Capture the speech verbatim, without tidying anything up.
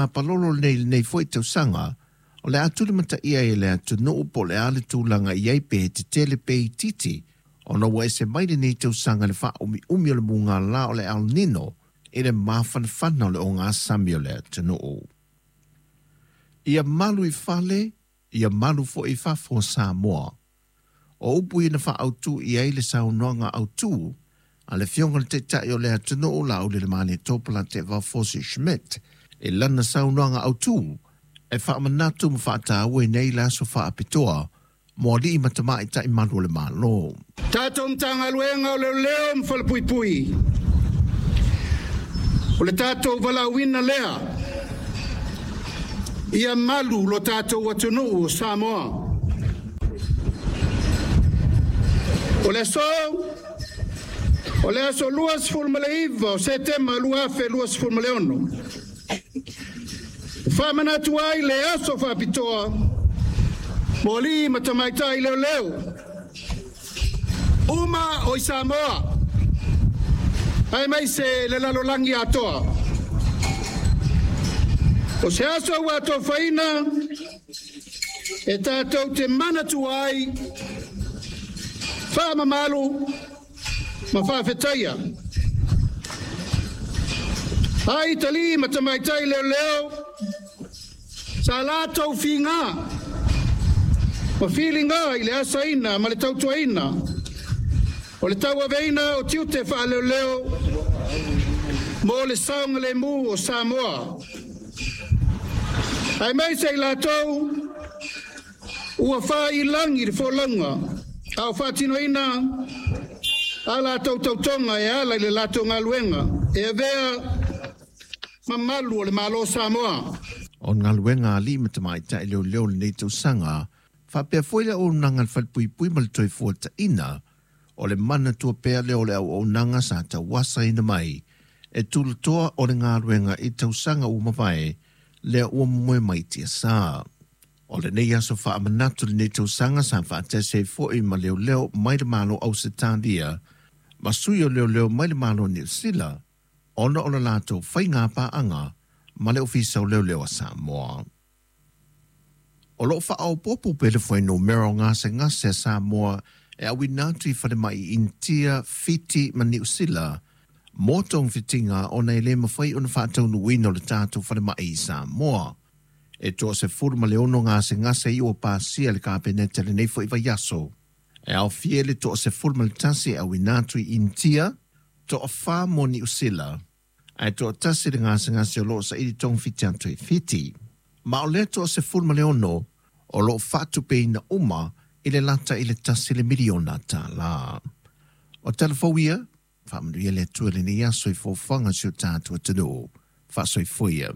Palolo nei nei foi tausaga o le a tulimataia e le atunuu po o le a le tulaga i ai pe tetele pe itiiti ona ua ese mai lenei tausaga le faaumiumi o le mugala o le El Nino i le mafanafana o le ogasami o le atunuu. Ia malu i fale, ia malu foi i fafo o Samoa. O upu ia na faaautu i ai le saunoaga autu a le Afioga i le Taitai o le atunuu Laaulialemalietoa Polataivao Fosi Schmidt i lana saunoaga autu e faamanatu ma faataua i nei le aso faapitoa mo alii ma tamaitai malu o le Malo. Tatou Matagaluega o Leoleo ma Falepuipui, o le tatou valaauina lea ia malu lo tatou atunuu o Samoa. O le aso, o le aso luasefulumalaiva o Setema lua afe luasefulumaleono, faamanatu ai le aso faapitoa mo alii ma tamaitai leoleo uma o i Samoa, aemaise le lalolagi atoa. O se aso ua atofaina e tatou te manatua ai, faamamalu ma faafetaia ai talii ma tamaitai leoleo sa latou figa ma filiga i le asaina ma le tautuaina o le tauaveina o tiute faaleoleo mo le saogalemu o Samoa. Aemaise i latou ua failagi le folauga a o faatinoina a latou tautoga e ala i le latou galuega e avea mamalu o le Malo o Samoa. O galuega a alii ma tamaitai leoleo lenei tausaga faapea foi le auaunaga a le falepuipui ma le toefuataina o le manatua pea lea o le auaunaga sa tauasaina mai e tulatoa o le galuega i tausaga ua mavae lea ua momoe mai tiasa. O lenei aso faamanatu lenei tausaga sa faatasi ai foi ma leoleo mai le Malo Ausetalia ma sui o leoleo mai le Malo Niu Sila ona o le latou faiga paaga ma le Ofisa o Leoleo a Samoa. O loo faaopoopo pea le fuainumera o gasegase a Samoa e auina atu i falemai Initia, Fiti ma Niu Sila mo togafitiga ona e le mafai ona faataunuuina o le tatou falemai i Samoa. E toasefulu ma le ono gasegase i ua pasia le Kapeneta lenei foi vaiaso. E aofia le toasefulu ma le tasi e auina atu i Initia, toafa mo Niu Sila, ae toatasi le gasegase o loo saili togafiti atu i Fiti. Ma o lea toasefulu ma le ono o loo faatupeina uma i le lata i le tasi le miliona tālā. O tala fou ia, faamanuia le Atua i lenei aso i foafoaga o si o tatou atunuu. Faasoifua ia.